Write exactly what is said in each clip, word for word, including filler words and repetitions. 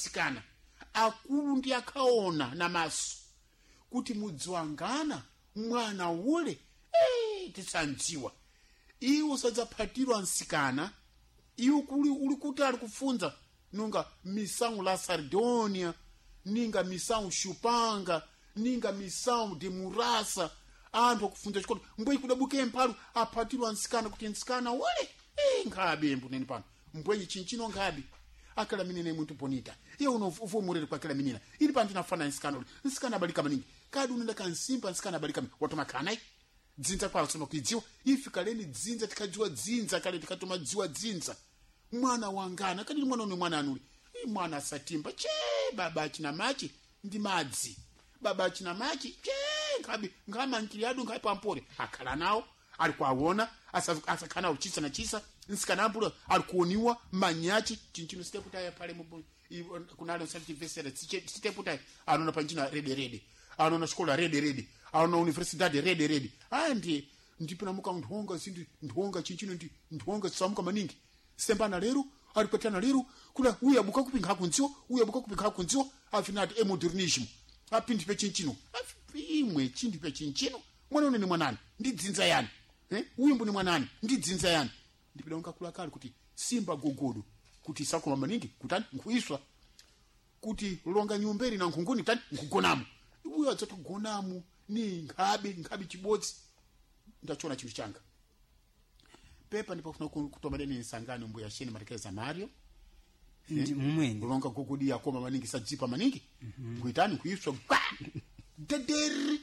Sikana akulu ndi akaona na maso kuti mudziwangana mwana ule, eh, tisandziwa iwo sadzaphatirwa nsikana. Iwo kuli uli kuti ali kufunza nunga missão la Sardonia, ninga missão Chupanga, ninga missão de Murasa. Anthu akufunza chikoto mbwenyi kudabuke mphalu aphatirwa nsikana kuti nsikana ule, eh, nkhabe mbuneni pano mbwenyi chinchino nkhabe akala minene muntu bonita iye uno uvomurere kwakela minina ili pano tinafana nsikana ule nsikana abalika maningi kadi unenda kansimba nsikana abalika maningi watomakhana dzinza kwalo tsono kuidziwa ife kaleni dzinza tikadziwa dzinza kale tikatoma dziwa dzinza mwana wangana kadili mwana une mwana anuli i mwana asatimba che baba achina machi ndi madzi baba achina machi che nkhabi nkhamankhili adu nkhabi pampore akhala nawo ali kuawona asakhala nawo chisa na chisa nsikana ambulo ali kuoniwa manyachi chinchino siteputaya pale mubu kunalo satitivesera siteputaya anona panjina rede rede anona xikola rede rede anona universidade rede rede aya ndi ndipinamuka nthonga zindi nthonga chinchino ndi nthonga zisamuka maningi sembana lero alipatana lero kula uyu abuka kupi nkhakunziwa uyu abuka kupi nkhakunziwa afinati emodernismo apindi pe chinchino Afi- imwe chinthu pe chinchino mwana une ni mwanani ndi dzinza yani, eh? Uyu mbuni mwanani ndi dzinza yani ndipida nkakula kale kuti simba gogodo kuti isakoma maningi kutani nkuiswa kuti longa nyumberi na nkhunguni tani nkugonamo uyo adzatogonamo ni nkhabe nkhabe chibodzi ndachona chinthu changa pepa ndipo kufuna kutomadeni nsangano mbuya sheni matekeza mario. Ndi mumweni. Longa gogodi yakoma maningi sadzipa maningi kuitani kuiswa gwa dederi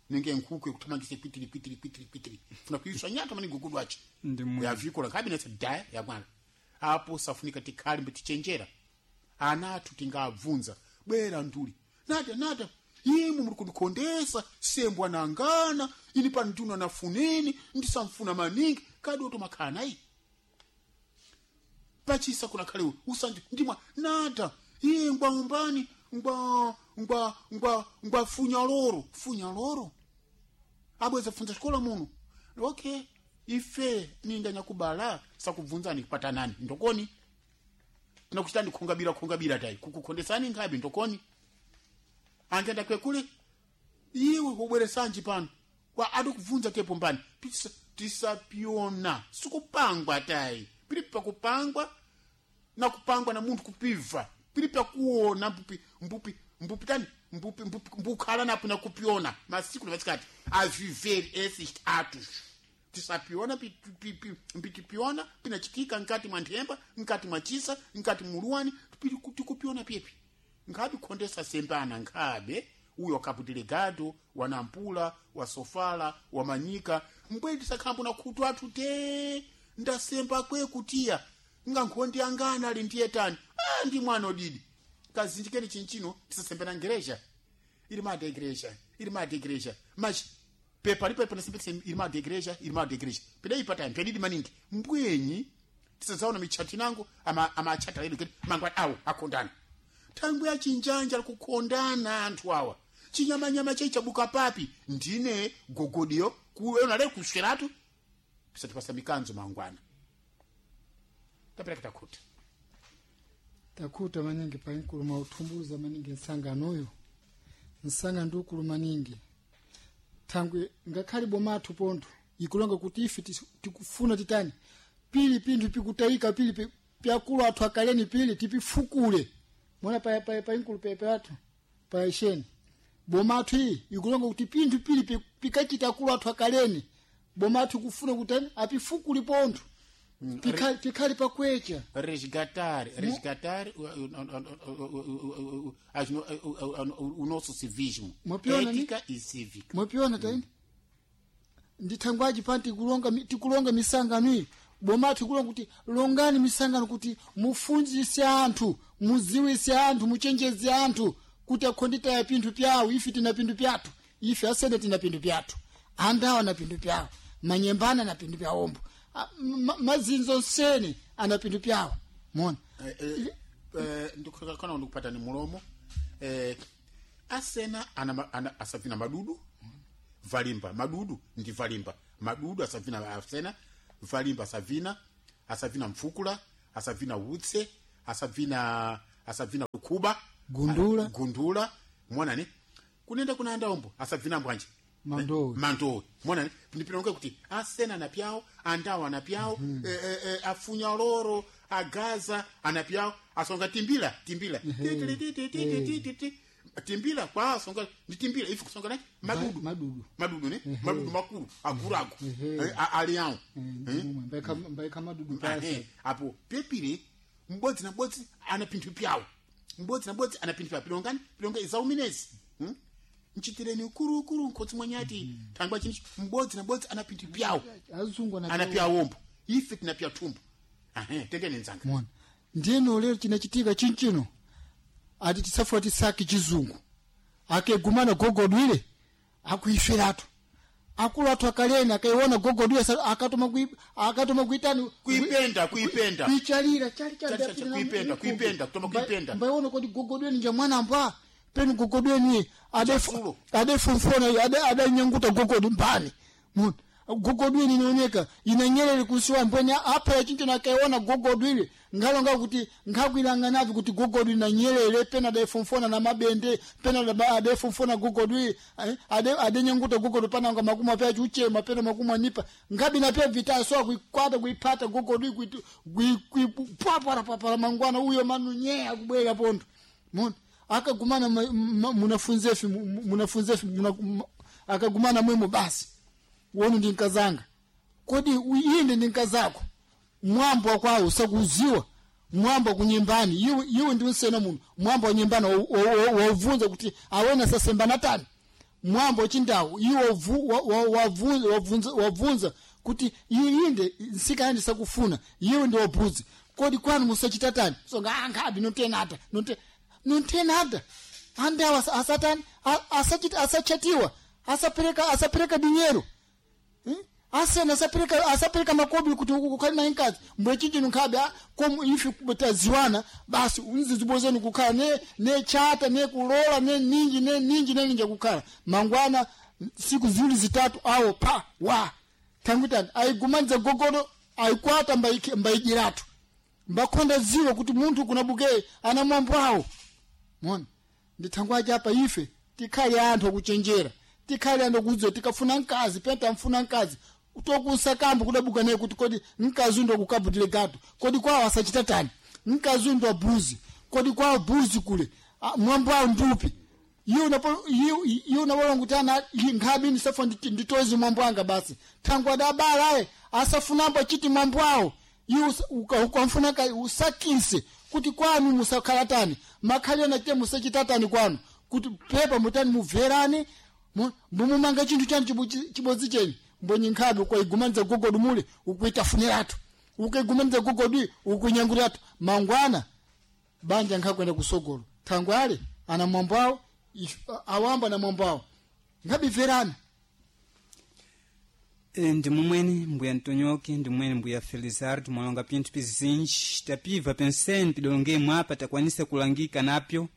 ninge nkhuku yakuthamangisa kwitiri kwitiri kwitiri kwitiri funa kuiswa nyato maningi gogodo achi Ndi mumweni. yavikola nkhabe nesa daya yamwana apo safunika tikhali mbe tichenjera ana athu tingabvunza bwera nduli nata nata imwe muri kundikhondesa sembwa nangana ini pano nduna nafuneni ndisamfuna maningi kadi otomakhala nayi pachisa kuna khale usanje ndimwa nata iye ngwa umbani ngwa ngwa ngwa ngwa funya loro funya loro abweza funza xikola muno. Okay, ife ninga nyakubala sakubvunzani kupatanani ndokoni tinakuchitani khongabira khongabira tayi kukukhondesani nkhabe ndokoni angenda kwekule iwe ubweresanji pano kwa adikubvunza tepo mbani. Tisa- tisapiona sikupangwa tayi pili pakupangwa na kupangwa na munthu kupibva pili pakuona mbupi mbupi mbupi tani mbupi mbupi mbukhala napo nakupiona masiku na masikati a viver esses atos tisapiona pi- pi- pi- mpitipiona pinachitika nkati mwa nthemba nkati mwa chisa nkati muluwani pi- tikupiona pyepi nkhabe khondesa sembana nkhabe uyo wakapu delegado wanampula wasofala wamanyika mbweni tisakhambo na khutu athu te ndasemba kwe kutiya nga nkhondi angana ali ndiye tani, ah, ndi mwana odidi kazinjikeni chinchino tisasembena ngereja irmã da igreja, irmã da igreja, mas pepa lipo panasembesa irmã da igreja, irmã da igreja pidai patani pedidi maningi mbwenyi tisazaona michati nangu ama amachata ledu kiti mangwa awo akondana thangwe achinjanja kukondana anthu awa chinyamanyama chaichabuka papi ndine gogodiyo kuona le kusweratu pisatipasa mikanzo mangwana tapera kitakhuta. Takhuta maningi painkuluma uthumbuza maningi nsanganoyo nsanga ndiukulu maningi thangwe ngakhale bomathu pontho ikulonga kuti ife tis- tikufuna titani pili pinthu pikutayika pili pi- pyakulu athu akaleni pili tipifukule mona pa pa painkulu pepe athu paisheni bomathu iyi ikulonga kuti pinthu pili pi- pikachita akulu athu akaleni bomathu ikufuna kutani apifukule pontho pikhali pikhali pakwecha. Resgatar resgatar o, o, o, as no- o, o, o nosso civismo. Mwapiona ni? Ética e cívica. Mwapiona taini ndithangwaji pani tikulonga mi- tikulonga misangano iyi bomatu tikulonga kuti longani misangano kuti mufunzise anthu muziwise anthu muchenjeze anthu kuti akhonditaya pinthu pyawo ife tina pinthu pyathu ife asene tina pinthu pyathu andawo ana pinthu pyawo manyembana ana pinthu pyawombo A- ma- mazinzo nsene ana pinthu pyawo mona. Eh, eh, eh, ndikukana ndikupata ni mulomo eh, asena ana, ana, asavina madudu valimba madudu ndi valimba madudu asavina asena valimba asavina asavina mfukula asavina utse asavina asabvina kuba Gundula. a- gundula mwanani kunenda kuna andaombo asabvina mbwanje Mandowe. mandowe mwanani ndipilonge kuti asena anapyawo andawo anapyawo mm -hmm. e, e, e, afunya loro agaza anapyawo asonga timbila timbila Ti, ti, ti, ti, ti, ti, ti, ti. Timbila kwa asonga ndi timbila ifi kusonga nachi madudu madudu. Madudu ne madudu makulu agurago Ehe. Eh, a- ali awo Eh, ndimumwe. Mbaika- mbaika madudu pasi Ahe, apo pepire m'bodzi na m'bodzi ana pinthu pyawo m'bodzi na m'bodzi ana pinthu pyawo pilongani pilonga izauminezi hmm? Nchitireni ukurukuru nkhotsi mwanyati mm. Thangwa chinichi m'bodzi na m'bodzi ana pinthu pyawo azungu ana pyawombo ife tina pya thumbo. Ahe, tendeni nzanga. Mona ndiyeno lero chinachitika chinchino ati tisafuwa tisaki chizungu akegumana gogodwile akuiferatu akulu athu akaleni akaiona gogodwile sa- akatoma kui- akatoma kuitani Kuipenda kuipenda kuichalira chali Chali, chali, kuipenda, kuipenda, kutoma kuipenda. Mbaiona kodi gogodweni nja mwana mbwa penu gogodweni Chasulo. adefumfona adanyanguta gogodi mbani Muna, gogodwini inaoneka inanyerere kusiwa mbweni apa yachincho nakaiona gogodwile ngalonga kuti nkhakuilanganavi kuti gogodwi na nyerere pena adefumfona na mabende pena adaba- adefumfona gogodwi eh, ade adenyanguta gogodwi pananga makumi pya chuchema pena makumi anipa ngabi na pya vitaso kuikwata kuipata gogodwi kuitu kuipwapwara mangwana uyo manunyeya kubwera pondo mona akagumana ma- ma- munafunzefi mu- mu- munafunzefi muna- ma- akagumana mwemo basi wonu ndi nkazanga kodi inde ndi nkazako mwambo wakwawo sakuziwa mwambo wakunyembani iwe iwe ndi usena muno mwambo wanyembani wauvunza kuti awena sasembana tani mwambo wachindawu iwe wavu- wa- wa- wavunza wavunza- wavunza kuti inde nsikana ndisakufuna iwe ndi wabuzi kodi kwanu musachita tani songa ankhabi notenata note nontenata andawo asa- asatani a- asachita asachatiwa asapereka asapereka dinyero Hmm? Asena asapereka asapereka makobi kuti ukhali naye nkazi mbwe chinjino nkhabe ah, komu ife taziwana basi unzizibozeni kukhala ne ne chata ne kulola ne ninji ne ninji ne ninji kukhala mangwana siku ziwiri zitatu awo pa wa tangutani aigumanza gogodo aikwata mbaiki- mbaijiratu mbakonda ziwa kuti munthu kuna bukeye ana mwambo awo mona ndithangwaje apa ife tikhale anthu akuchenjera tikhale anthu akudziwa tikafuna mkazi pena tamfuna mkazi tokunsakambo kudabuka naye kuti kodi mkazi undo akukabutile gato kodi kwawo asachita tani mkazi undo abuzi kodi kwawo buzi kule Ah, mwambo awo ndupi iye unapo- iye- iye unapolonga kuti ana nkhabi ndisafa nditozi mwambo anga basi thangwe adabala aye asafunambo achiti mwambo awo iwe usa- uka- ukamfuna ka usakise kuti kwanu musakhala tani makhalira nachite musachitatani kwanu kuti pepa mutani mubverane mu- mbumumanga chinthu chanu chibu- chibodzi chenyu mbwenye nkhabe ukaigumanidza gogodu mule ukuitafuniratu ukaigumanidza gogodu ukuinyanguratu mangwana banja nkhakwenda kusogolo thangwe ale ana mwambo awo if- awamba na mwambo awo nkhabibverana. E, ndi mumwene mbuya Ntonyoke ndi mumwene mbuya Felizardo mwalonga pinthu pizinji tapiva penseni pidolongemwe apa takwanisa kulangika napyo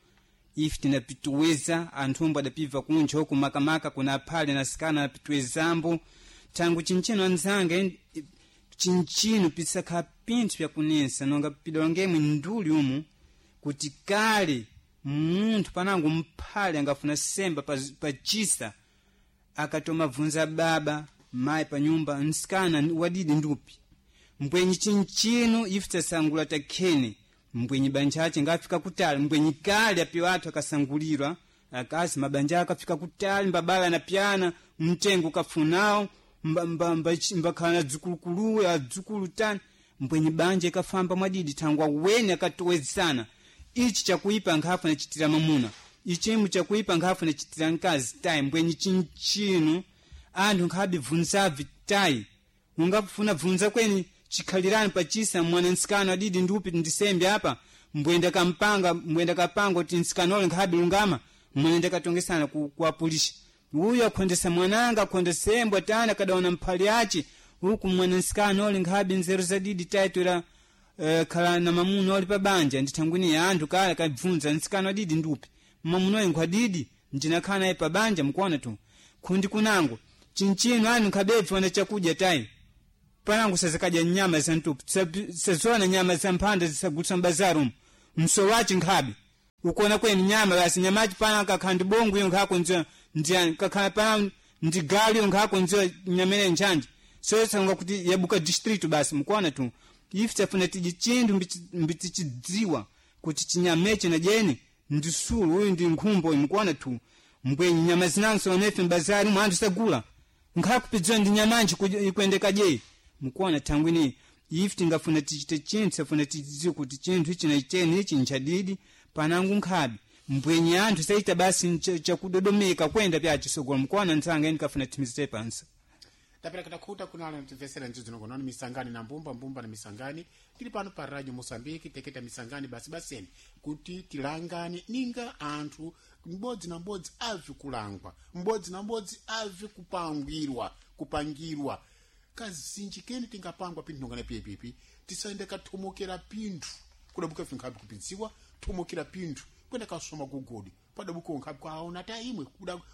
ife tinapituweza anthu adapiva kunja uku makamaka kuna aphale na sikana anapituwezambo thangu chinchino anzanga en- chinchino pisakhala pinthu pyakunensa nonga pidolongemwe nduli umu kuti kale munthu panango mphale angafuna semba pa, pa chisa akatoma bvunza baba mayi pa nyumba msikana wadidi ndupi mbwenyi chinchino ife tasangula takhene mbwenyi banja ace ngafika kutali mbwenyi kale apiwo athu akasangulirwa akazi mabanja akafika kutali mbabala na pyana mtengo ukafunawo mbakhala mba, mba, mbakhala na dzukuluukuluwe adzukulu tani mbwenyi banja ikafamba mwadidi thangwa weni akatowezana ichi chakuipa nkhafu nachitira mamuna ichimu chakuipa nkhafu nachitira mkazi tayi mbwenyi chinchino anthu nkhabe bvunzavi tayi ungafuna bvunza kweni chikhalirani pachisa mwana nsikano adidi ndiupi ndisembe apa mbwenda kampanga mbwenda kapanga kuti nsikano ole nkhabe lungama mwana ndakatongesana ku, kuwapulisha uyu akhondesa mwananga akhondesembwa tani akadaona mphali ace uku mwana nsikano ole nkhabe nzeru zadidi tayi toera uh, khala na mamuna oli pabanja ndithangwini ya anthu kale akabvunza nsikano adidi ndiupi mamuna oyo nkhwadidi ndinakhala naye pabanja mukuona tu khundi kunango chinchino anu nkhabebvi wana chakudya tayi panango sazakadya nyama za ntupu sazona nyama za mphanda zisagulitsa m'bazari umu. msowachi nkhabe ukuona kweni nyama basi nyamachi pana kakhala ndi bongo iyo nkhakonziwa ndiyani kakhala pana ndi galu iyo nkhakonziwa nyamene nchanji soyesanga kuti yabuka district basi mukuona tu ife tafuna tiji chinthu mbitichidziwa kuti chinyamechi na jeni ndi sulu uyu ndi nkhumbo uyu mukuona tu mbwenyi nyama zinanso onefe mbazari mwanthu sagula nkhakupidziwa ndi nyamanji ikuendeka je mukuona thangwini ife tingafuna tichite chinthu safuna tidziwe kuti chinthu ichi na cheni ichi nchadidi panangu nkhabe mbwenyi anthu saita basi chakudodomeka kwenda pyachisogolo mukuona ntsanga eni kafuna timizite pansa tapera katakhuta kunala mtimvesera mdzidzi nongononi misangani na mbumba mbumba na misangani tili pano pa radio moçambique teketa misangani basi baseni kuti tilangane ninga anthu m'bodzi na m'bodzi abve kulangwa m'bodzi na m'bodzi abve kupangwirwa kupangirwa kazinji kene tingapangwa pinthu nongana piyepipi tisayende kathomokera pinthu kudabuka ife kupidziwa thomokera pinthu kwenda kasoma gugodi padabuka unkhabe kwaona ta imwe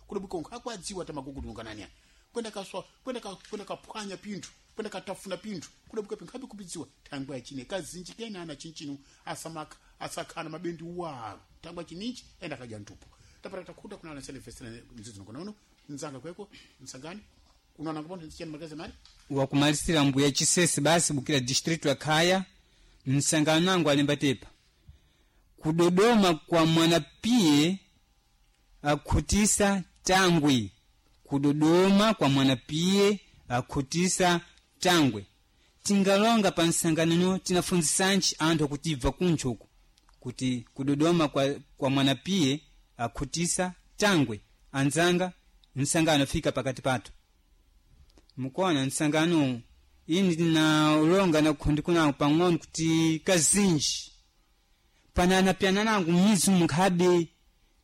kudabuka unkhabe kwadziwa ta magugodi nonganania kwenda kaswa kwenda ka, kwenda kaphwanya pinthu kwenda katafuna pinthu kudabuka pinkhabe kupidziwa thangwe achine kazinji kene ana chinchino asamaka asakhana mabendi walo thangwe chininchi enda kadya ntupo tapata takhuta kunala selefesera mdzidzi nongonono nzanga kweko msangani unaona ngapona nzichani magazi mari wakumalisira mbuya chisese basi bukira district ya khaya msangano nangu alemba tepa kudodoma kwa mwanapiye akhutisa tangwe kudodoma kwa mwanapiye akhutisa tangwe tingalonga pa msanganano tinafunzisanji anthu akuti ibva kuntcho uku kuti kudodoma kwa, kwa mwanapiye akhutisa tangwe anzanga msangano fika pakati pathu mukuona msangano ini ndinalonga nakhundi kunango pang'ono kuti kazinji pananapyana nangu mizu munkhabe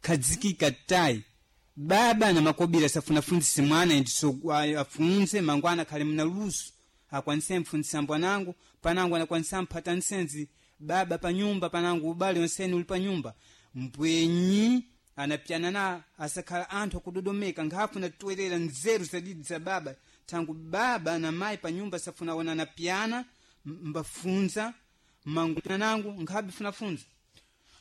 khadzikika tayi baba na makobira safuna funzise mwana ndiso afunze mangwana akhale mna luso akwanise mfunzisa mbwanangu panangu anakwanisa mphata nsenzi baba panyumba panangu ubale onseni uli panyumba mbwenyi anapyana na asakhala anthu akudodomeka nkhafuna toerera nzeru zadidi za baba tangu baba na mayi panyumba safuna ona anapyana mbafunza mangu nangu nkhabe funafunza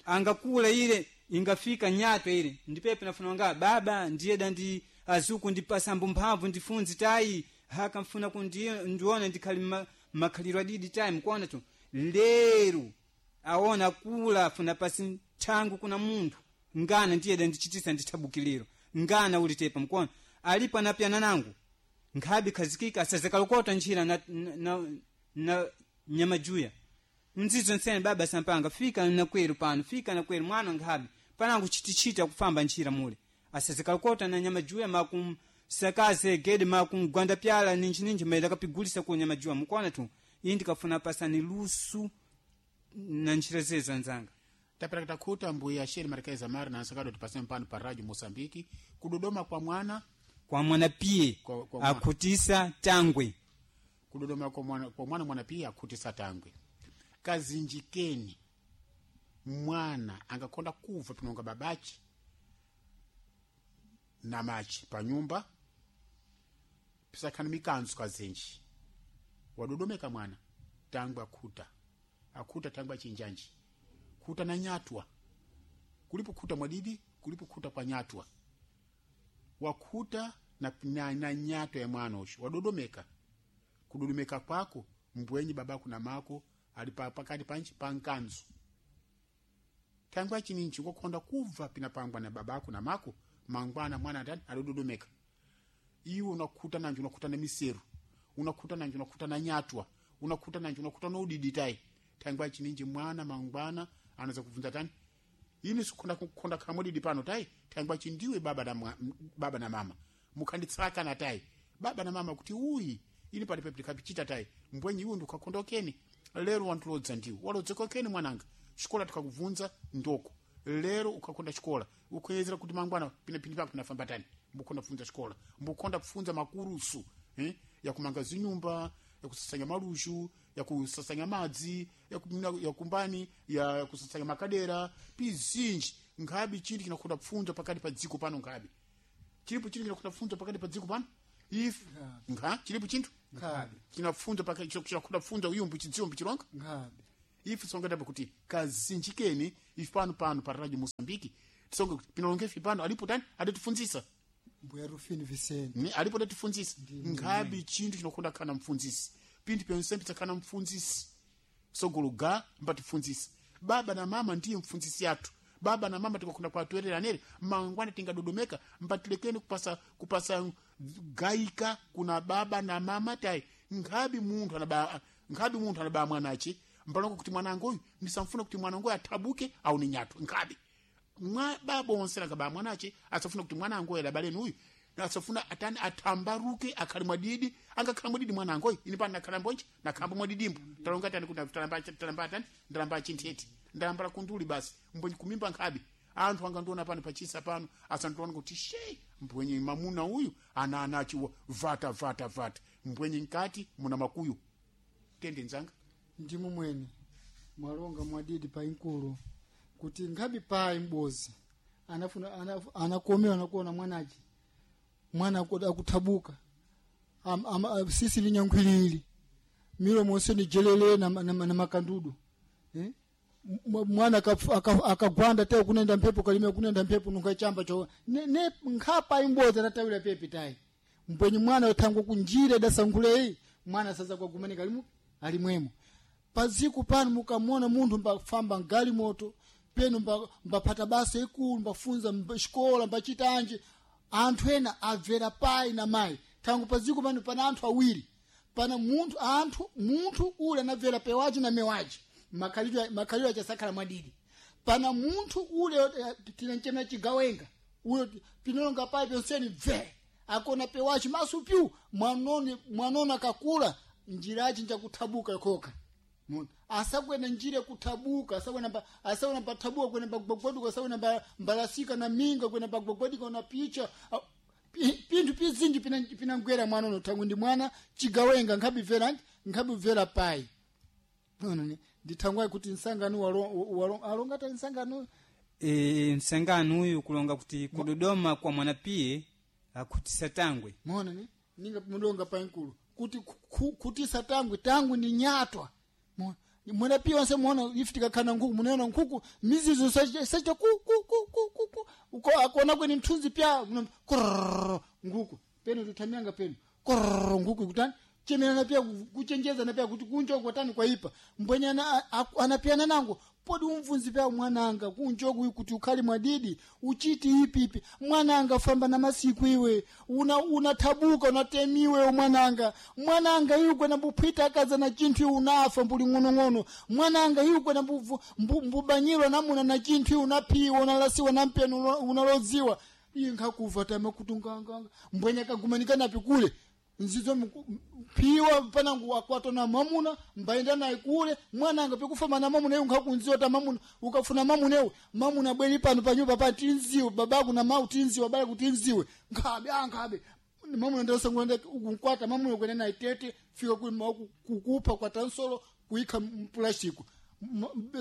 angakula ile ingafika nyato ile ndipepe nafuna nga baba ndiye dandi azuku ndipasambo mphamvu ndifunzi tayi haka mfuna kundiona ndiona ndikhali ma, makhaliro adidi tayi mkuona tu lero aona kula afuna pasi thangu kuna munthu ngana ndiye dandichitisa ndithabukiliro ngana ulitepa mkuona alipo anapyana nangu nkhabe khazikika asazakalokota ntchira na, na, na, na nyamajuya mzizo nsene baba sampanga fika nakweru pano fika nakweru mwana nkhabe panangu chitichita kufamba ntchira mule asazikalokota na nyamajuya makumsakaze gede makumgwanda pyala ninji ninji maida kapigulisa ku nyamajuya mukuona tu iyi ndikafuna pasani lusu na ntchira zezo anzanga tapera takhuta mbuya sheri marikaiza mari na nsakado tipase mpano pa radio moçambique kudodoma kwa mwana kwa mwana piye Kwa- kwa mwana. akhutisa tangwe kudodoma kwa mwana kwa mwana mwana piye akhutisa tangwe kazinji keni mwana angakonda kuva pinonga babachi na machi panyumba pisakhana mikanzo kazinji wadodomeka mwana tangwe akhuta akhuta tangwe achinjanji khuta na nyatwa kulipo khuta mwadidi kulipo khuta kwa nyatwa wakhuta na, na, na nyatwa ya mwana usho wadodomeka kudodomeka kwako mbwenyi babako na mako ali pa- pakati panchi pa nkanzu thangwi achininchi kokhonda kubva pinapangwa na babako na mako mangwana mwana atani alidodomeka iwe unakhuta nanji unakhuta na miseru unakhuta nanji unakhuta na nyatwa unakhuta nanji unakhuta na udidi tayi thangwi achininji mwana mangwana anaweza kubvunza tani ini sikhonda kukhonda khamudidi pano tayi thangwi achindiwe baba na, mwa- m- baba na mama mukhanditsakana tayi baba na mama kuti uyi ini pali pepe tikapichita tayi mbwenyi iwe ndikukakhonda okeni lero wantulodza ndiwe walodzeka okeni mwananga xikola tikakubvunza ndoko lero ukakonda xikola ukuyezera kuti mangwana pinapini pako pinafamba tani mbukonda kupfunza xikola mbukonda kupfunza makurusu eh? yakumanga zinyumba yakusasanya malushu yakusasanya madzi yaku- yakumbani yakusasanya makadera pizinji nkhabi chinthu chinakonda kupfunza pakati pa dziko pano nkhabi chilipo chinthu chinakonda kupfunza pakati pa dziko pano if nkha chilipo chinthu nkhabe chinapfunza pakati chinakonda kupfunza uyumbu chidziwo mbichilonga nkhabe Ife tisonga kuti kazinjikeni ife pano pano pa Radio Mosambiki tisonga kuti pinalonge ife pano alipo tani adatifunzisa Mbuya Rufini Vicente ni alipo adatifunzisa nkhabi chinthu chinokonda khana mfunzisi pinthu pyonse pitsakhala mfunzisi sogolo ga mbatifunzisa baba na mama ndiye mfunzisi yathu. Baba na mama tikakonda kwatwerera nere mangwana tingadodomeka mbatilekeni kupasa kupasa gaika kuna baba na mama tai nkhabi munthu anaba nkhabi munthu anaba mwanache mpalongo kuti mwanangu uyu ndisamfuna kuti mwanangu uyu athabuke au ni nyathu nkhabi mwa baba onse nakaba mwanache asafuna kuti mwanangu uyu adabaleni uyu asafuna atani athambaruke akhale mwadidi angakhala mwadidi mwanangu uyu ine pano nakhala mbonje nakhamba mwadidimbo talonga tani kuti talamba talamba tani ndalamba chinthete ndalambala kunduli basi mbwenye kumimba nkhabi anthu angandiona pano pachisa pano asandiona kuti she mbwenye mamuna uyu ana anachi vata vata vata mbwenye nkati muna makuyu tende nzanga ndimu mwene mwalonga mwadidi pa inkulu kuti nkhabi payi m'bozi anafuna anaf- anakomewa nakuona mwanachi mwana aku- akuthabuka Am- am- a- sisi linyankhwilili milomo onse ni jelele na, na, na makandudu eh? M- mwana akaf- aka- akagwanda tayo kunenda mphepo kalime kunenda mphepo nungachamba cho ne, ne nkhapa imbozi atatawira pepi tayi mbwenye mwana uthango kunjira idasankhuleyi mwana saza kwagumanika alimu alimwemo paziku pano mukamona munthu mbafamba mgalimoto penu mba- mbaphata basa ikulu mbafunza mba- xikola mbachitanje anthu ena abvera payi na mayi thango paziku pano pana anthu awiri pana munthu anthu munthu ule anabvera pewace na mewace makhalidwe makhalidwe ache sakhala mwadidi pana munthu ule eh, tinanchena chigawenga ule pinolonga payi ponseni bve akona pewace maso pyu mwanoni mwanoni akakula njira yace njakuthabuka ikhoka Mona. Asakwena njira kuthabuka asakwena mba asakwena mbathabuka kwena mbagwagwaduka asakwena mba mbalasika na minga kwena mbagwagwadika na picha A- pi- pinthu pizinji pina pinangwera mwana uno thangu ndi mwana chigawenga nkhabibvera nkhabibvera payi Ona ni ndithangwayi kuti nsangano walo walo alonga ta nsangano e, msangano uyu kulonga kuti kudodoma kwa mwanapiye akhutisa tangwe mona ni ninga mudonga pankulu kuti ku- ku- kutisa tangwe tangwe ni nyatwa mona mwana pia wanse muona ife tikakhala nkhuku munaona nkhuku mizizo sacha ku ku ku ku ku ku uko akona kweni mthunzi pya muna- kurrrr, nkhuku peno tuthamyanga peno kurrrr, nkhuku ikutani chemerana pia ku- kuchenjeza na pia kuti kunjoku kwatani kwaipa mbwenyana anapiyana nango podi umvunzi pya mwananga kunjoku kuti ukhali mwadidi uchiti ipi ipi mwananga famba na masiku iwe una unathabuka unatemiwe mwananga mwananga iwe kwena mbuphwita akaza na chinthu iwe unafa mbuli ng'onong'ono mwananga iwe kwena mbuvu- mbu- mbubanyirwa namuna na chinthu iwe unaphiwa unalasiwa na mpeni uno- unalodziwa iye nkhakuva tama kuti nganganga mbwenya kagumanika napi kule nzizo mku- phiwa panangu akwatona mwamuna mbaenda naye kule mwananga pikufama na mwamuna iwe nkhakunziwa ta mwamuna ukafuna mwamuna iwe mwamuna bweri pano panyumba pa tinziwe babaku na mau tinziwe abale kutinziwe nkhabe ankhabe mwamuna ndasangulanda ukunkwata mwamuna kwene naye tete fika kuli mau kukupa kwa tansolo kuikha mpulastiko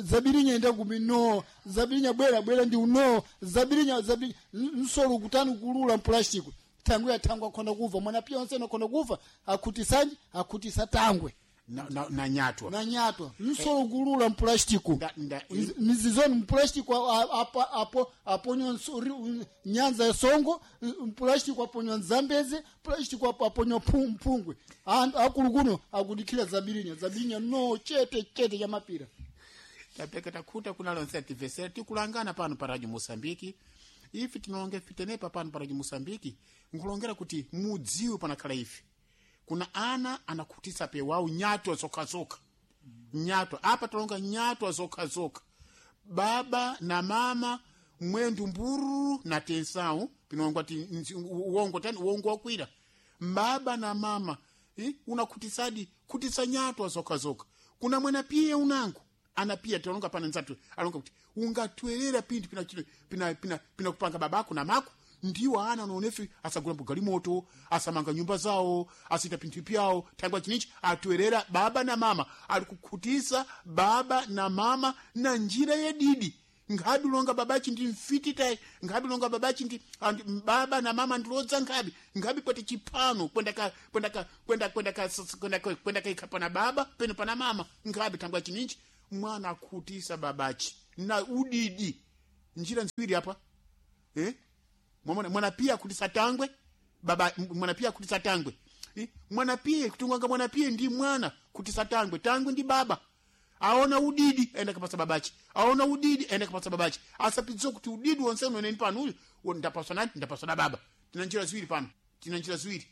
zabirinya enda kumi no zabirinya bwera bwera ndi uno zabirinya zabirinya nsolo kutani kulula mpulastiko tangwe atangwe akhonda kuva mwana pia onse akhonda kuva akhutisanji akhutisa tangwe na, na, na nyatwa na nyatwa nsolo kulula mpulastiko Nda- nda- mizizoni mpulastiko apo apo aponywa nso- ri- nyanza ya songo mpulastiko aponywa nzambeze pulastiko apo aponywa phu- mphungwe Anthu akulukuno akudikhira zabirinya zabirinya no chete chete cha mapira tapeka takhuta kuna lonse tivesera tikulangana pano pa radio moçambique ife tinalonga ife tenepa pano pa radio moçambique nkulongera kuti mudziwe panakhala ife kuna ana anakhutisa pewawu nyatwa zokhazokha nyatwa apa talonga nyatwa zokhazokha baba na mama mwendu mburu na tensau pinongwa ti nzi- uwongo tani uwongo wakwira baba na mama eh, unakhutisadi khutisa nyatwa zokhazokha kuna mwena piye unango anapiya talonga pana nzatu alonga kuti ungatwerera pinthu pina chino pina pina pina kupanga babako na mako ndiwo ana unaonefi asagula mbugalimoto asamanga nyumba zawo asita pinthu pyawo thangwa chinichi atwerera baba na mama ali kukhutisa baba na mama na njira yedidi nkhabi longa babachi ndi mfiti tayi nkhabi longa babachi ndi andi- baba na mama ndilodza nkhabi nkhabi kwete chiphano kwenda ka kwenda ka kwenda kwenda ka kwenda ka kwenda kaikha pana baba peno pana mama nkhabi thangwa chininchi Mwana akhutisa babachi na udidi njira nziwiri apa eh? Mwana, mwana pia akhutisa tangwe baba mwana pia akhutisa tangwe eh? Mwana pia kutunganga mwana pia ndi mwana kutisa tangwe tangwe ndi baba aona udidi enda kapasa babachi aona udidi enda kapasa babachi asapidziwa kuti udidi wonse uneneni pano uyu wo ndapaswa nani ndapaswa na baba. Tina njira ziwiri pano tina njira ziwiri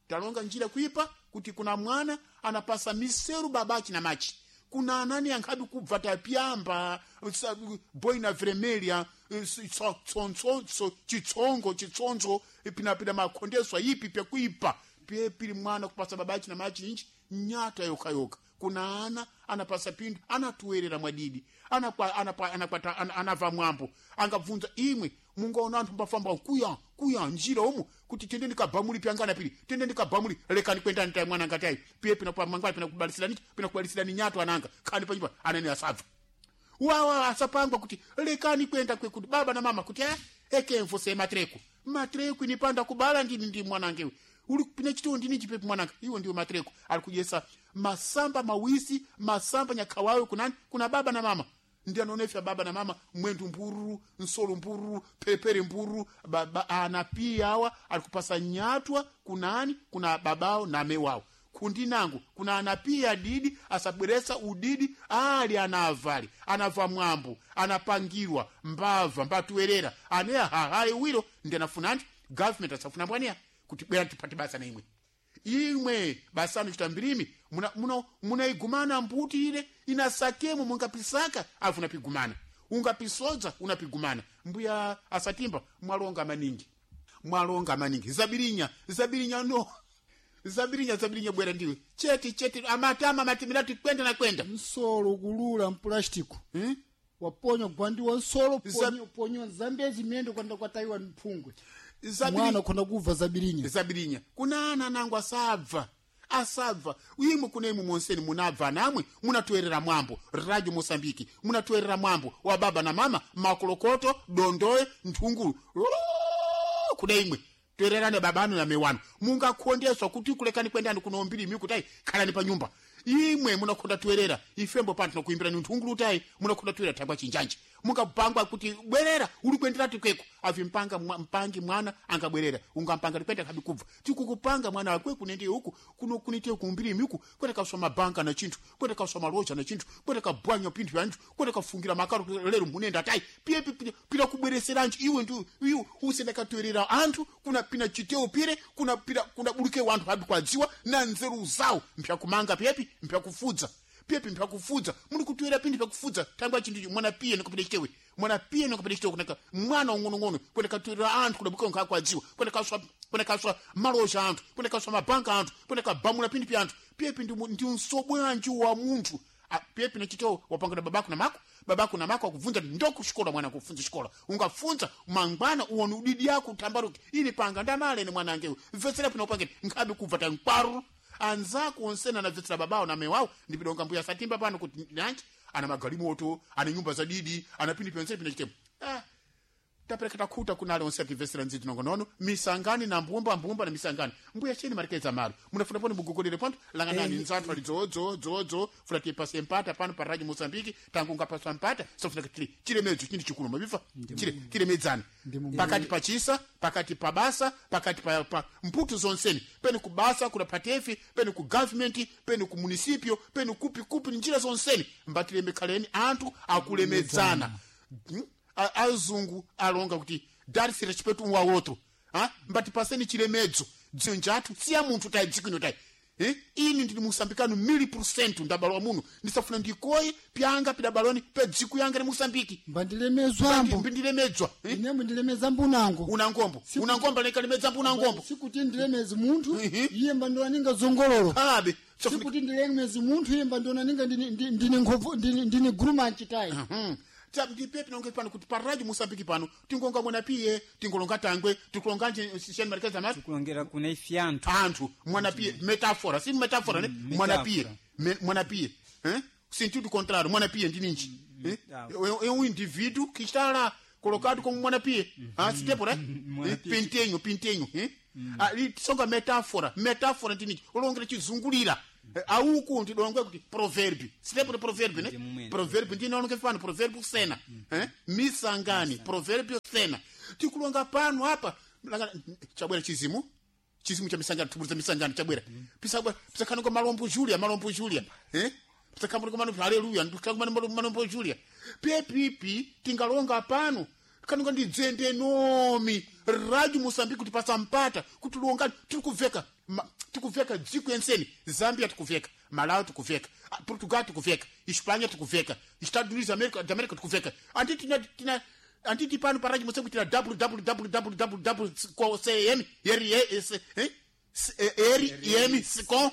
talonga njira kuipa kuti kuna mwana anapasa miseru babachi na machi kuna anani ankhabi kubva tapyamba sa- boina vermelha tsontsonso chitsongo chitsonzo pinapina makhondeswa ipi pyakuipa pyepili mwana kupasa babachi na machi inchi nyata yokayoka kuna ana anapasa pindu anatuwerera mwadidi anakwa anapa anakwata ana, anava mwambo angabvunza imwe mungaona anthu mbafamba kuya kuya njira umu kuti tende ndikabhamuli pyangana pili tende ndikabhamuli lekani kwendani tayi mwana ngatayi piye pina pa mangwana pina kubalisilani pina kubalisilani nyato ananga khani panyumba anani asabva wawa asapangwa kuti lekani kwenda kwekuti baba na mama kuti eh ekemfo se matreko matreko inipanda kubala ndini ndi mwanangewe uli pine chitiwo ndini chipepi mwananga iwo ndiwo matreko ali kudyesa masamba mawisi masamba nyakhawawe kunani kuna baba na mama ndi anonefya baba na mama mwendu mbururu nsolo mbururu pepere mbururu baba ana pia awa ali kupasa nyatwa kunani kuna babao na mewawo kundi nangu kuna anapia didi asabweresa udidi ali anavali anava mwambo anapangirwa mbava mbatuwerera ane hahayi wiro ndi anafuna anti government asafuna mbwaniya kuti bwera tipate basa na imwe imwe basano chita mbirimi muna, muna, munaigumana mbuti ile inasakemo mungapisaka afu unapigumana ungapisodza unapigumana mbuya asatimba mwalonga maningi mwalonga maningi zabirinya zabirinya no zabirinya zabirinya bwera ndiwe cheti cheti amatama matimira tikwenda na kwenda nsolo kulula mpulastiko hmm? waponya gwandiwa nsolo Za- ponyo ponyo zambezi miyendo kwanda kwatayiwa mphungwe Zabiri- mwana khona kubva zabirinya zabirinya kuna ana nangu asabva asabva imwe kuna imwe monseni munabva namwe munatoerera mwambo radio mosambiki munatoerera mwambo wa baba na mama makolokoto dondoe nthungulu Loo, kuna imwe toererane babanu na mewanu mungakhondeswa kuti kulekani kwendani kuno mbiri kutayi khalani pa nyumba imwe munakhonda toerera ifembo pano tinakuimbirani nthungulu tayi munakhonda toerera thangwa chinjanji mungapangwa kuti bwerera uli kuendera tikweko avimpanga mwa- mpangi mwana angabwerera ungampanga tikwenda kabi kubva tikukupanga mwana wakwe kunende uku kuno kunite kumbiri uku kwenda kaswa mabanka na chinthu kwenda kaswa maloja na chinthu kwenda kabwanya pinthu yanthu kwenda kafungira makaro lero munenda tayi piye pi- pi- pira kubwereseranji iwe ndi iwe usenda katoerera anthu kuna pina chiteo pire kuna pira kuna buluke wanthu abi kwadziwa na nzeru zawo mpyakumanga pyepi mpyakufudza pyepi mpyakufudza muli kutoera pindi pyakufudza tangwa chinthu mwana piye nikupita chitewe mwana piye nikupita chitewe kunaka mwana ung'onong'ono kwenda katoera anthu kudabuka nkakwadziwa kwenda kaswa kwenda kaswa maloja anthu kwenda kaswa mabanka anthu kwenda kabamula pindi pya anthu pyepi ndi mu- ndi msobwanji wa munthu Ah, pyepi nachitewo wapangana babako na mako babako na mako akubvunza ndokuxikola mwana kufunza xikola ungafunza mangwana uone udidi yako utambaruke ini panga ndamalene mwanangewe mvetsera pino upangeni nkhabe kubva tankwaru anzako onsena anabvetsera babawo na mewawo ndipidonga mbuya satimba pano kuti nanji ana magalimoto ana nyumba za didi ana pindi pyonsene pina chitepo ah, tapereka takhuta kunale onse ativesera ndzidzi nongonono misangani na mbumba mbumba na misangani mbuya cheni marekeza malo munafuna pano mugogolere pano langanani Eh, nzathu ali dzo dzo dzo dzo funa tipase mpata pano pa radio mozambiki tangu ungapaswa mpata sofuna kuti chilemedzo chinthu chikulu mabifa chile chilemedzani pakati pa chisa pakati pa basa pakati pa, pa mputu zonseni pene ku basa kuna patefi pene ku government pene ku municipio pene kupi kupi njira zonseni mbatilemekhaleni anthu akulemedzana Hmm? A- azungu alonga kuti dar-se respeito um ao outro ha? mbati paseni chilemedzo dzinja athu siya munthu tayi dziko ino tayi Eh? ini ndili musambikano mili percent ndabalwa muno ndisafuna ndikoye pyanga pidabalwani pe dziko yanga ni musambiki mbandilemezwambo mbindilemedzwa eh? inemwe ndilemeza mbunango una ngombo una ngombo lekalemedza mbuna ngombo sikuti ndilemezi munthu Mhm. iye mbandonaninga zongololo abe sofuna sikuti ndilemezi munthu iye mbandonaninga ndine- ndi- ndine nkhovu- ndine ndine gurumanchi tayi Mhm. Ta ndipe pinonge pano kuti pa radio musambiki pano tingonga mwana piye tingolonga tangwe tikulonganje sishani marekeza mati kulongera kuna ife anthu anthu mwana piye metafora si metafora ne Mm, mwana piye metáfora. Me- mwana piye eh sentido contrário mwana piye ndininji eh ah. é é um indivíduo que está lá colocado como mwana piye ah se tempo né Mwana Eh, piye. pintenho pintenho eh ah li- songa metáfora metáfora ndininji ulongera chizungulira Auku ndidongwe kuti proverb silepo proverb ne mumwene. proverb ndinaoneke pano proverb sena eh misangani proverb sena tikulonga pano apa Langa- chabwera chizimu chizimu cha misangano tubuliza misangano chabwera pisabwera pisakhanonga malombo julia malombo julia eh pisakhambuliko malombo haleluya ndikhambuliko malombo julia pepipi tingalonga pano kanonga ndidzende nomi radio Mosambiki kuti pasampata kuti longa tiri kuveka ma- tikuveka dziko enseni Zambia tikuveka Malawi tikuveka ah, Portugal tikuveka Hispania tikuveka Estados Unidos America da America tikuveka anditi tina tina anditi pano pa radio Mosambiki tina www c m r e s eh S- eh, r m s com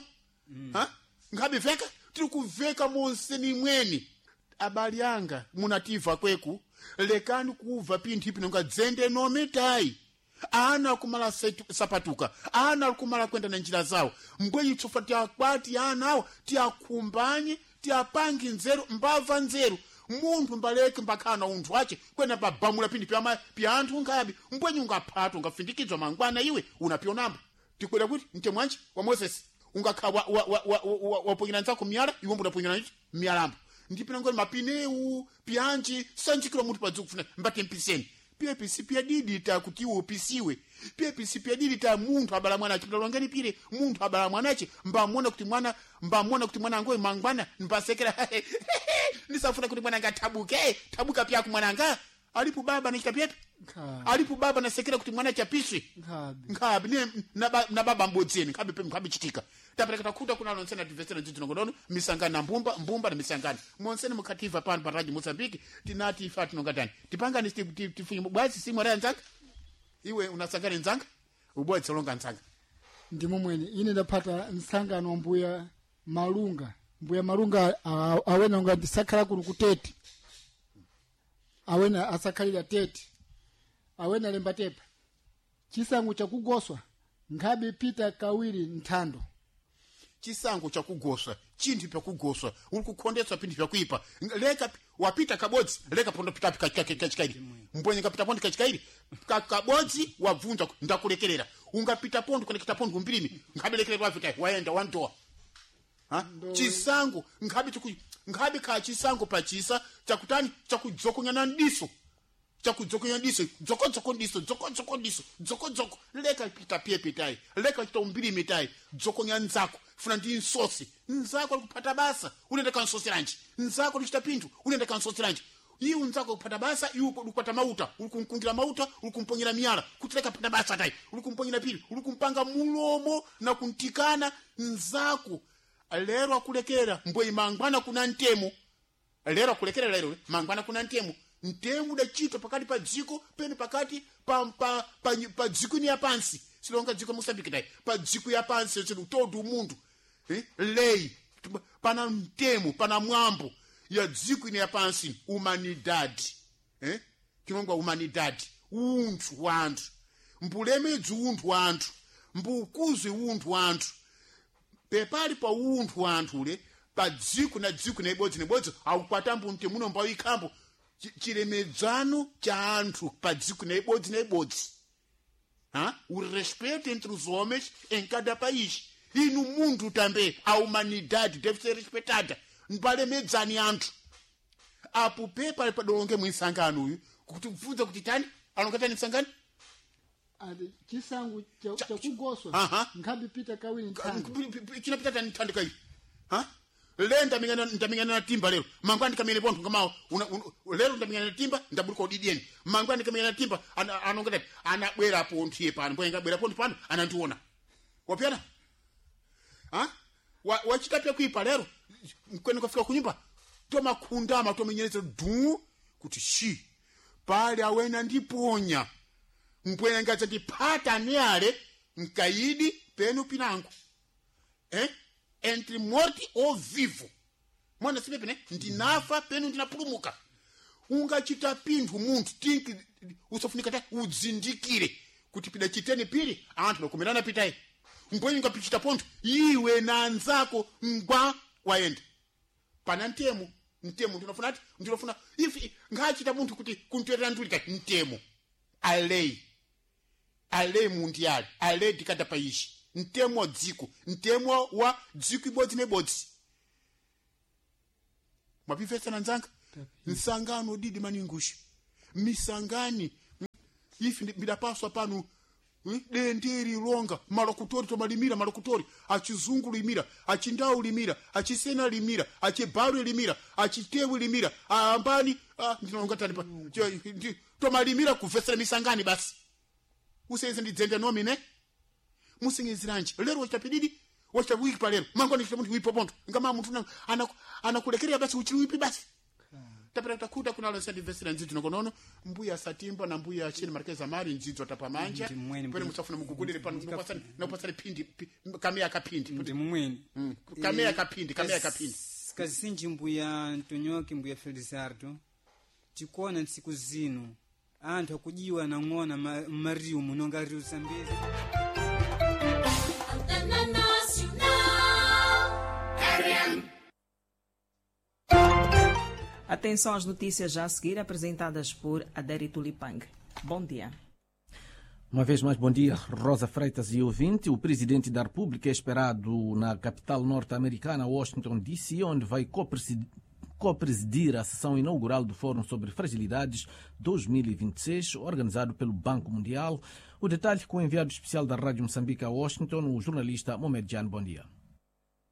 ha ngabe veka tiri kuveka monseni mweni abali anga munativa kweku lekani kuva pinthu ipi nonga dzende nometayi ana akumala setu- sapatuka ana akumala kwenda na njira zawo mbwenyi tsofa tiakwati ana awo tiakhumbanye tiapange nzeru mbava nzeru munthu mbaleke mbakhana unthu ache kwena pabamula pinthu pya pya anthu ngabi mbwenyi ungaphata ungafindikidzwa mangwana iwe unapionambo tikwera kuti mtemwanji wa moses ungakha waponyera wa, wa, wa, wa, waponyera nzako miyala iwe mbudaponyera nchi miyalambo ndipina ngoni mapineu pianji sanjikira munthu padzi kufuna mbate mpiseni piye pisi piya didi ta kuti iwe upisiwe piye pisi piya didi ta munthu abala mwana ache pidalongeni pire munthu abala mwana ache mbamona kuti mwana mbamona kuti mwana angoyi mangwana mbasekera ndisafuna kuti mwana anga thabuke thabuka pyaku mwana anga alipo baba nachita pyepi Nkhabe. alipo baba nasekera kuti mwana chapiswe Nkhabe. nkhabe ne na ba- na baba mbodzeni nkhabe pe nkhabe chitika tapereka takhuta kuna lonsena tivesera dzidzinongodono misangano na mbumba mbumba na misangano monsene mukhativa pano pa radio Mozambique tinati ife tinonga tani tipangani ti- ti- tifunye bwazi simwe ra nzanga iwe unasangana nzanga ubodzi longa nzanga ndimo mwene ine ndaphata msangano wa mbuya malunga mbuya malunga a- awena nga ndisakhala kuno kutete awena asakhalira tete awena lemba tepa chisango chakugoswa nkhabe pita kawiri nthando chisango chakugoswa chinthu pyakugoswa uli kukhondeswa pinthu pyakuipa leka wapita kabodzi leka pondo pitapi kachikairi mbwenye ngapita pondo kachikairi Ka- kabodzi wabvunza ndakulekerera ungapita pondo kunekita pondo kumbirimi nkhabelekerera wavita waenda wandowa Ha? chisango nkhabe chiku nkhabe kha chisango pachisa chakutani chakudzokonya ndiso chakudzokonya diso dzokodzoko diso dzokodzoko diso dzokodzoko leka pita pie pitai leka chita umbiri mitai dzokonya nzako funa ndi nsosi nzako alikuphata basa unaenda kansoseranji nzako lichita pinthu unaenda kansoseranji iwe nzako kuphata basa iwe ukupata mauta uli kumkungira mauta uli kumponyera miyala kuti leka phata basa tayi uli kumponyera pili uli kumpanga mulomo na kuntikana nzako lero akulekera mbwe mangwana kuna ntemo lero akulekera lero mangwana kuna ntemo ntemo udachitwa pakati pa dziko pene pakati pa, pa, pa, pa dziko ni yapansi silonga dziko mosambiki tayi pa dziko yapansi sino todo munthu eh? lei pana mtemo pana mwambo ya dziko ine yapansi humanidade eh? tinongwa humanidade unthu wa anthu mbulemedzi unthu wa anthu mbukuzwe unthu wa anthu pepali pa unthu wa anthu ule pa dziko na dziko na ibodzi na ibodzi aupatambo mtemuno mbawikhambo chilemedzano cha anthu pa dziko na ibodzi na ibodzi ha? O respeito entre os homens em cada país e no mundo também a humanidade deve ser respeitada mbalemedzani anthu apo pepa padolonge mwinsangano uyu kuti bvunza kuti tani alonga tani msangano ati chisango cha- chakugoswa Aha. nkhabe pita kawiri nthando chinapita tani thandika iyi ha le ndamingana ndamingana na timba lero mangwana ndikamene pontho ngamawo una- una- lero ndamingana na timba ndabuluka udidieni mangwana ndikamene na timba ana- anonga tati anabwera pontho iye pano mbwenga abwera pontho pano anandiona wapyana ha Wa- wachita pyakuipa lero mkwene kafika kunyumba tomakhundama tomenyereza du kuti shi pale awena ndiponya mpwenga dzandipata ni ale mkaidi penu pinango eh? entre morte ou vivo mwana sipepene ndinafa penu ndinapulumuka ungachita pinthu munthu tinki usafunika ta udzindikire kuti pida chiteni pili anthu nakumerana pitayi mbwenyi ungapichita pontho iwe na anzako ngwa wayenda pana ntemo ntemo ndinofuna ati ndinofuna if ngachita munthu kuti kuntwerera ndulika ntemo alei a lei mundial a lei de cada país Mtemo wa dziko, mtemo wa dziko ibodzi nebodzi. Mwapimvetsana nzanga? Nsangano didi maningusha. Misangani ifi ndi- midapaswa pano eh, denderi longa malokutori tomalimira malokutori achizungu limira achindau limira achisena limira achibaru limira achitewi limira aambani ah, ndinalonga tani pa che- ndi- tomalimira kuvesera misangani basi usenze ndidzende nomine musingiziranji lero wachita pididi wachita wiki palero mangoni chita munthu wipo pontho ngama munthu una- anaku- anakulekerera basi uchili wipi basi tapera takuta kunalo sandimvesera ndzidzo nokonono mbuya satimba na mbuya chini markeza mari ndzidzo tapamanja Ndi mwene, pene mbuya. musafuna mugugudire pano nokupasani nokupasani phindi pi- kameya kaphindi Ndi mumwene. Mm, kameya kaphindi kameya kaphindi Kazinji mbuya Ntonyoki mbuya Felizardo tikuona ntsiku zino anthu akujiwa nang'ona ma- mmariu munonga riu Zambezi. Antena Nacional. Atenção às notícias já a seguir apresentadas por Adérito Tulipang. Bom dia. Uma vez mais, bom dia, Rosa Freitas e ouvinte. O presidente da República é esperado na capital norte-americana, Washington, D C, onde vai co-presidir co-presidir a sessão inaugural do Fórum sobre Fragilidades dois mil e vinte e seis, organizado pelo Banco Mundial. O detalhe com o enviado especial da Rádio Moçambique a Washington, o jornalista Mohamed Jan. Bom dia.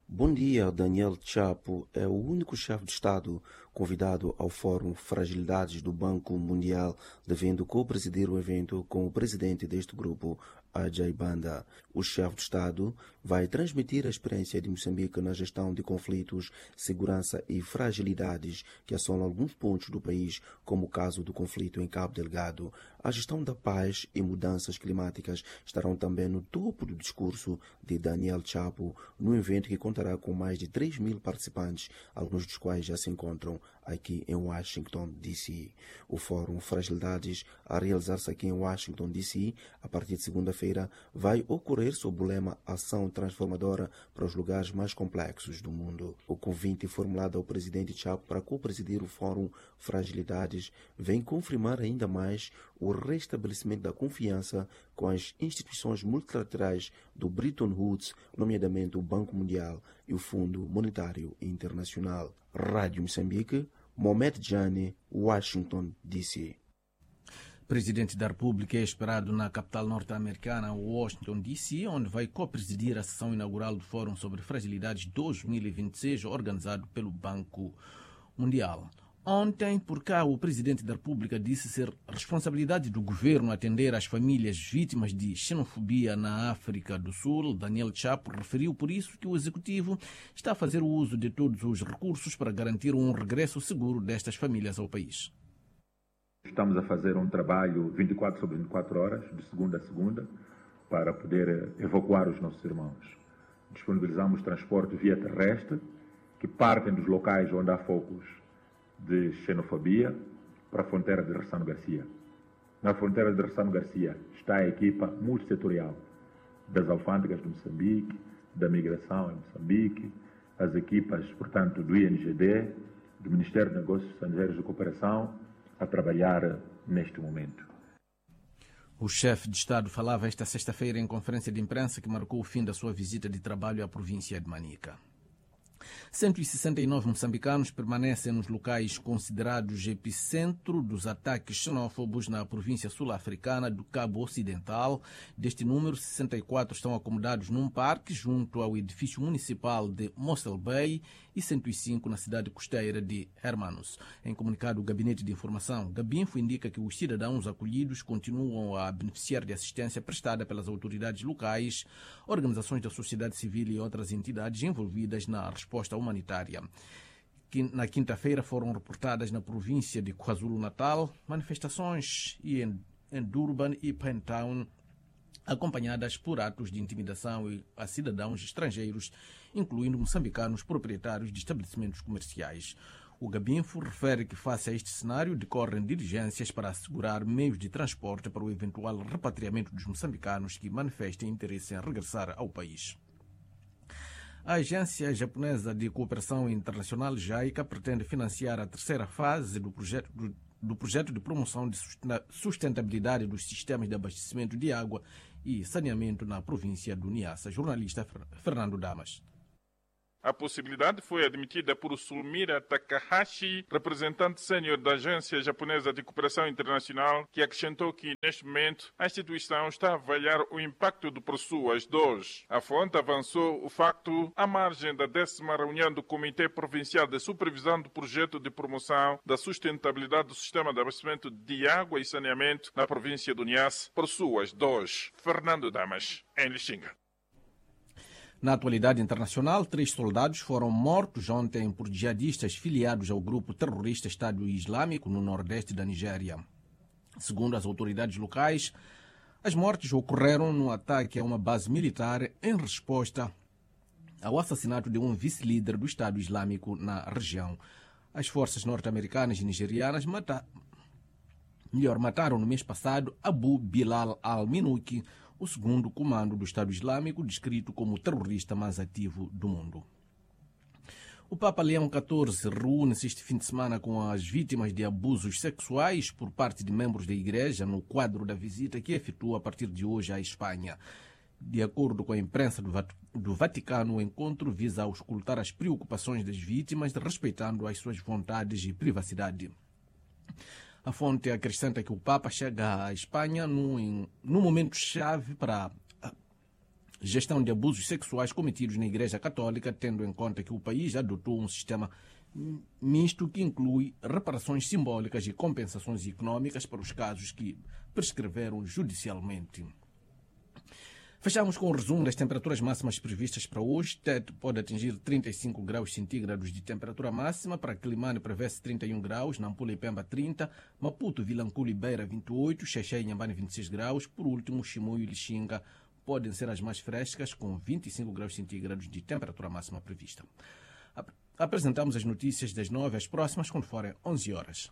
Bom dia, Daniel Chapo é o único chefe de Estado convidado ao Fórum Fragilidades do Banco Mundial, devendo co-presidir o evento com o presidente deste grupo, Ajay Banda. O chefe de Estado vai transmitir a experiência de Moçambique na gestão de conflitos, segurança e fragilidades que assolam alguns pontos do país, como o caso do conflito em Cabo Delgado. A gestão da paz e mudanças climáticas estarão também no topo do discurso de Daniel Chapo, no evento que contará com mais de três mil participantes, alguns dos quais já se encontram aqui em Washington, D C. O Fórum Fragilidades, a realizar-se aqui em Washington, D C, a partir de segunda-feira, vai ocorrer sob o lema Ação Transformadora para os lugares mais complexos do mundo. O convite formulado ao presidente Chapo para co-presidir o Fórum Fragilidades vem confirmar ainda mais o restabelecimento da confiança com as instituições multilaterais do Bretton Woods, nomeadamente o Banco Mundial e o Fundo Monetário Internacional. Rádio Moçambique, Mohamed Jane, Washington, D C. Presidente da República é esperado na capital norte-americana, Washington, D C, onde vai co-presidir a sessão inaugural do Fórum sobre Fragilidades dois mil e vinte e seis, organizado pelo Banco Mundial. Ontem, por cá, o Presidente da República disse ser responsabilidade do governo atender às famílias vítimas de xenofobia na África do Sul. Daniel Chapo referiu, por isso, que o Executivo está a fazer o uso de todos os recursos para garantir um regresso seguro destas famílias ao país. Estamos a fazer um trabalho vinte e quatro sobre vinte e quatro horas, de segunda a segunda, para poder evacuar os nossos irmãos. Disponibilizamos transporte via terrestre, que partem dos locais onde há focos de xenofobia, para a fronteira de Ressano Garcia. Na fronteira de Ressano Garcia está a equipa multissetorial das alfândegas de Moçambique, da migração em Moçambique, as equipas, portanto, do I N G D, do Ministério de Negócios Estrangeiros e Cooperação, a trabalhar neste momento. O chefe de Estado falava esta sexta-feira em conferência de imprensa que marcou o fim da sua visita de trabalho à província de Manica. cento e sessenta e nove moçambicanos permanecem nos locais considerados epicentro dos ataques xenófobos na província sul-africana do Cabo Ocidental. Deste número, sessenta e quatro estão acomodados num parque junto ao edifício municipal de Mossel Bay e cento e cinco na cidade costeira de Hermanus. Em comunicado, o Gabinete de Informação Gabinfo indica que os cidadãos acolhidos continuam a beneficiar de assistência prestada pelas autoridades locais, organizações da sociedade civil e outras entidades envolvidas na resposta humanitária. Na quinta-feira foram reportadas na província de KwaZulu-Natal manifestações e em, em Durban e Pinetown, acompanhadas por atos de intimidação a cidadãos estrangeiros, incluindo moçambicanos proprietários de estabelecimentos comerciais. O Gabinfo refere que, face a este cenário, decorrem diligências para assegurar meios de transporte para o eventual repatriamento dos moçambicanos que manifestem interesse em regressar ao país. A Agência Japonesa de Cooperação Internacional, JICA, pretende financiar a terceira fase do projeto, do, do projeto de promoção de sustentabilidade dos sistemas de abastecimento de água e saneamento na província do Niassa. Jornalista Fernando Damas. A possibilidade foi admitida por Sulmira Takahashi, representante sênior da Agência Japonesa de Cooperação Internacional, que acrescentou que, neste momento, a instituição está a avaliar o impacto do ProSuas dois. A fonte avançou o facto à margem da décima reunião do Comitê Provincial de Supervisão do Projeto de Promoção da Sustentabilidade do Sistema de Abastecimento de Água e Saneamento na província do Niassa, ProSuas dois. Fernando Damas, em Lichinga. Na atualidade internacional, três soldados foram mortos ontem por jihadistas filiados ao grupo terrorista Estado Islâmico no nordeste da Nigéria. Segundo as autoridades locais, as mortes ocorreram no ataque a uma base militar em resposta ao assassinato de um vice-líder do Estado Islâmico na região. As forças norte-americanas e nigerianas mata... Melhor, mataram no mês passado Abu Bilal al-Minuki, o segundo comando do Estado Islâmico, descrito como o terrorista mais ativo do mundo. O Papa Leão catorze reúne-se este fim de semana com as vítimas de abusos sexuais por parte de membros da Igreja no quadro da visita que efetua a partir de hoje à Espanha. De acordo com a imprensa do Vaticano, o encontro visa auscultar as preocupações das vítimas, respeitando as suas vontades e privacidade. A fonte acrescenta que o Papa chega à Espanha num, num momento-chave para a gestão de abusos sexuais cometidos na Igreja Católica, tendo em conta que o país adotou um sistema misto que inclui reparações simbólicas e compensações econômicas para os casos que prescreveram judicialmente. Fechamos com o resumo das temperaturas máximas previstas para hoje. Tete pode atingir trinta e cinco graus centígrados de temperatura máxima. Para Quelimane prevê-se trinta e um graus, Nampula e Pemba trinta, Maputo, Vilanculo e Beira vinte e oito, Xexé e Inhambane vinte e seis graus. Por último, Chimoio e Lixinga podem ser as mais frescas, com vinte e cinco graus centígrados de temperatura máxima prevista. Apresentamos as notícias das nove às próximas, quando forem onze horas.